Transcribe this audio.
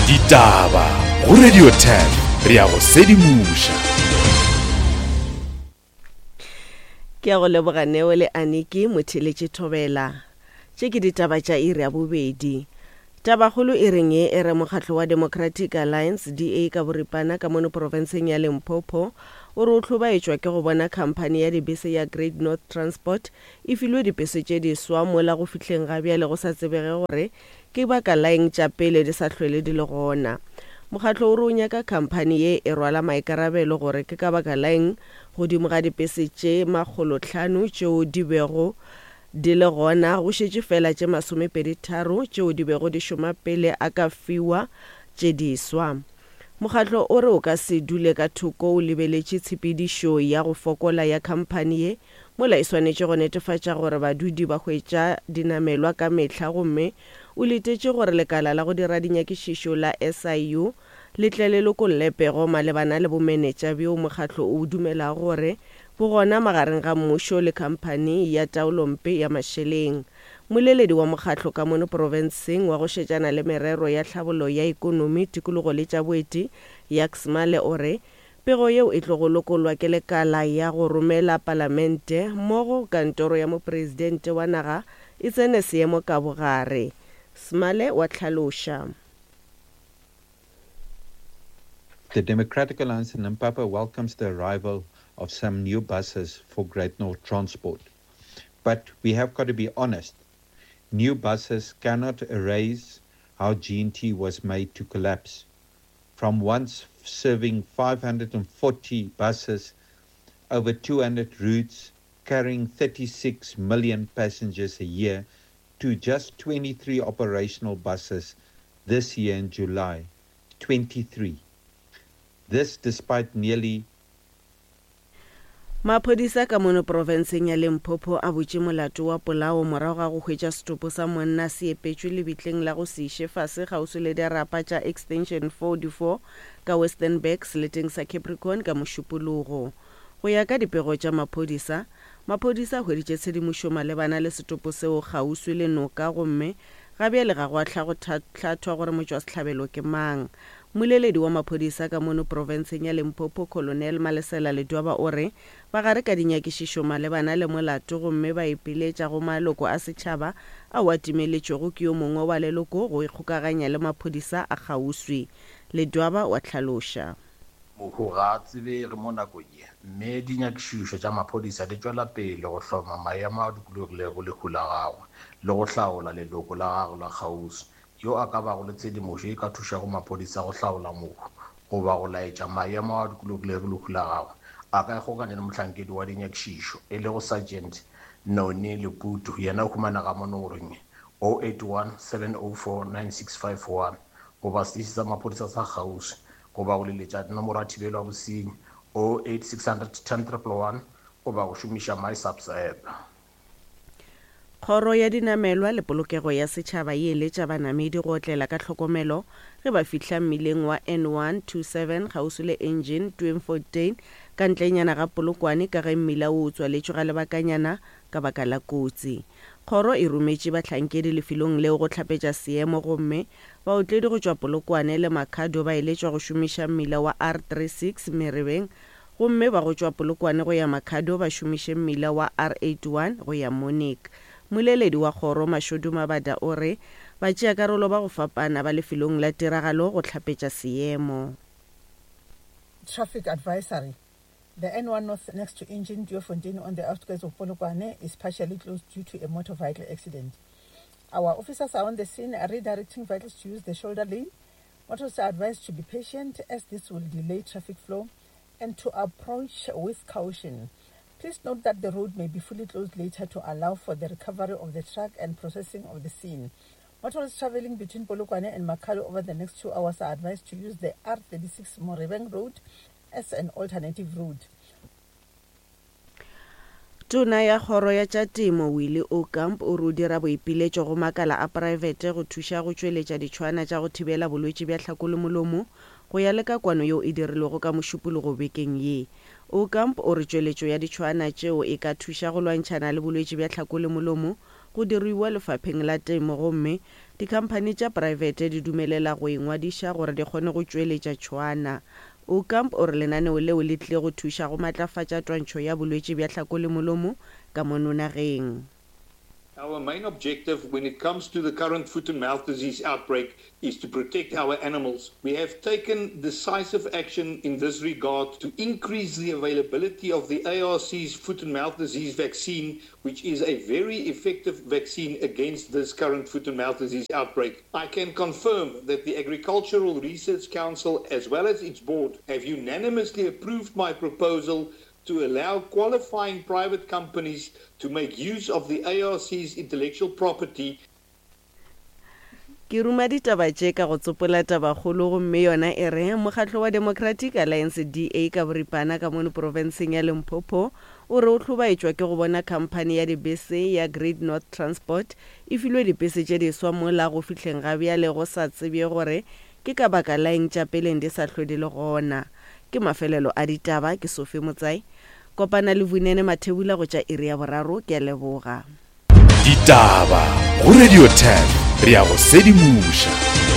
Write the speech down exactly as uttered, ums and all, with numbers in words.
Ditaba go Radio ten re ya go sedimoša. Ke a go leboga Neo le Aniki motheletše Thobela. Tše ke ditaba tša iri ya bobedi. Tabakgolo e reng ye e re mokgatlo wa Democratic Alliance D A ka boripana ka mono profenseng ya Limpopo o re o hlobaetšwa ke go bona khamphani ya dibese ya Great North Transport e filwe dipese tše diswa mola go fihleng ga bjale go sa tsebege gore ke baka la eng tša pele di sa hlwele di le gona. Mokgatlo o re o nyaka khamphani ye e rwala maikarabelo gore ke ka baka la eng godimo ga dipese tše makgolotlhano tšeo di bego di le gona go šetše fela tše masomepedi tharo tšeo di bego di šoma pele a ka fiwa tše diswa. Mokgatlo o re o ka se dule ka thoko o lebeletše tshepedišo ya go fokola ya khamphani ye mola e swanetše go netefatša gore badudi ba hwetša dinamelwa ka mehla gomme o letetše gore lekala la go dira dinyakišišo la S I U le tle le lokolle pego malebana le bomenetša bjo mokgatlo o dumelago gore bo gona magareng ga mmušo le khamphani ya taolompe ya mašeleng. Moleledi wa mokgatlo ka mono profenseng wa go šetšana le merero ya tlhabollo ya ekonomi, tikologo le tša boeti, Jacques Male o re pego yeo e tlogo lokollwa ke lekala ya go romela palamente mmogo kantoro ya mopresidente wa naga e tsene seemo ka bogare. Smale wa tlhaloša. The Democratic Alliance in Limpopo welcomes the arrival of some new buses for Great North Transport. But we have got to be honest. New buses cannot erase how G N T was made to collapse. From once serving five hundred and forty buses over two hundred routes, carrying thirty-six million passengers a year, to just twenty-three operational buses this year in July. twenty-three. This despite nearly Maphodisa ka mono profenseng ya Limpopo a butše molato wa polao morago ga go hwetša setopo sa monna se epetšwe lebitleng la go se iše fase kgauswi le dirapa tša Extension forty-four ka Westernburg seleteng sa Capricorn ka Mošupologo. Go ya ka dipego tša maphodisa, maphodisa a hweditše tshedimošo malebana le setopo seo kgauswi le noka gomme ga bjale ga go a hla go hlathwa gore motšwasehlabelo ke mang. Moleledi wa maphodisa ka mono profenseng ya Limpopo Colonel Malesela Ledwaba o re ba gare ka dinyakišišo malebana le molato gomme ba ipiletša go maloko a setšhaba ao a timeletšwego ke yo mongwe wa leloko go ikgokaganya le maphodisa a kgauswi. Ledwaba wa tlhaloša. Mohu ga a tsebege mo nakong ye, mme dinyakišišo tša maphodisa di tšwela pele go hloma maemo a dikologilego lehu la gagwe le go hlaola leloko la gagwe la kgauswi yo a ka bago le tshedimošo e ka thušago maphodisa go hlaola mohu goba go laetša maemo a dikologilego lehu la gagwe. A ka ikgokanya le mohlankedi wa dinyakišišo e lego Sergeant Noni Leputu, yena o humanega mo nomorong oh eight one, seven oh four, nine six five one goba seteše sa maphodisa sa kgauswi goba go leletša nomoro ya thibelo ya bosenyi oh eight six hundred ten triple one goba go šomiša MySAPS app. Kgoro ya dinamelwa le polokego ya setšhaba e eletša banamedi go otlela ka tlhokomelo ge ba fihla mmileng wa N one two seven kgauswi le Engine Tweefontein ka ntlenyana ga Polokwane ka ge mmila o o tswaletšwe ga lebakanyana ka baka la kotsi. Kgoro e rometše bahlankedi lefelong leo go hlapetša seemo gomme baotledi go tšwa Polokwane le Makhado ba eletšwa go šomiša mmila wa R three six Merebeng gomme ba go tšwa Polokwane go ya Makhado ba šomiše mmila wa R eight one go ya Monique. Moleledi wa kgoro Mashodu Mabada o re ba tšea karolo ba go fapana ba lefelong la tiragalo go hlapetša seemo. Traffic advisory. The N one North next to Engine Tweefontein on the outskirts of Polokwane is partially closed due to a motor vehicle accident. Our officers are on the scene redirecting vehicles to use the shoulder lane. Motorists are advised to be patient as this will delay traffic flow and to approach with caution. Please note that the road may be fully closed later to allow for the recovery of the truck and processing of the scene. Motorists traveling between Polokwane and Makhado over the next two hours are advised to use the R thirty-six Morebeng Road as an alternative route. Tona ya kgoro ya tša temo Willie Aucamp o re o dira boipiletšo go makala a praebete go thuša go tšweletša ditšhwana tša go thibela bolwetši bja tlhako le molomo go ya le ka kwano yeo e dirilwego ka Mošupologo bekeng ye. Aucamp o re tšweletšo ya ditšhwana tšeo e ka thuša go lwantšhana le bolwetši bja tlhako le molomo go diruiwa lefapheng la temo gomme dikhamphani tša praebete di dumelela go ingwadiša gore di kgone go tšweletša tšhwaana. Aucamp o re lenaneo leo le tlile go thuša go matlafatša twantšho ya bolwetši bja hlako le molomo ka mono nageng. Our main objective when it comes to the current foot and mouth disease outbreak is to protect our animals. We have taken decisive action in this regard to increase the availability of the A R C's foot and mouth disease vaccine, which is a very effective vaccine against this current foot and mouth disease outbreak. I can confirm that the Agricultural Research Council, as well as its board, have unanimously approved my proposal to allow qualifying private companies to make use of the A R C's intellectual property. Ke ruma ditaba tše ka go tsopola tabakgolo gomme yona e re mokgatlo wa Democratic Alliance D A ka boripana ka mono profenseng ya Limpopo o re o hlobaetšwa ke go bona khamphani ya dibese ya Great North Transport e filwe dibese tše diswa mola go fihleng ga bjale go sa tsebje gore ke ka baka la eng tša peleng di sa hlwe di le gona. Ke mafelelo a ditaba, ke Sophie Motsai. Kopana le Vunene Mathebula go tša iri ya boraro, ke a leboga. Ditaba go Radio ten, re ya go sedimoša.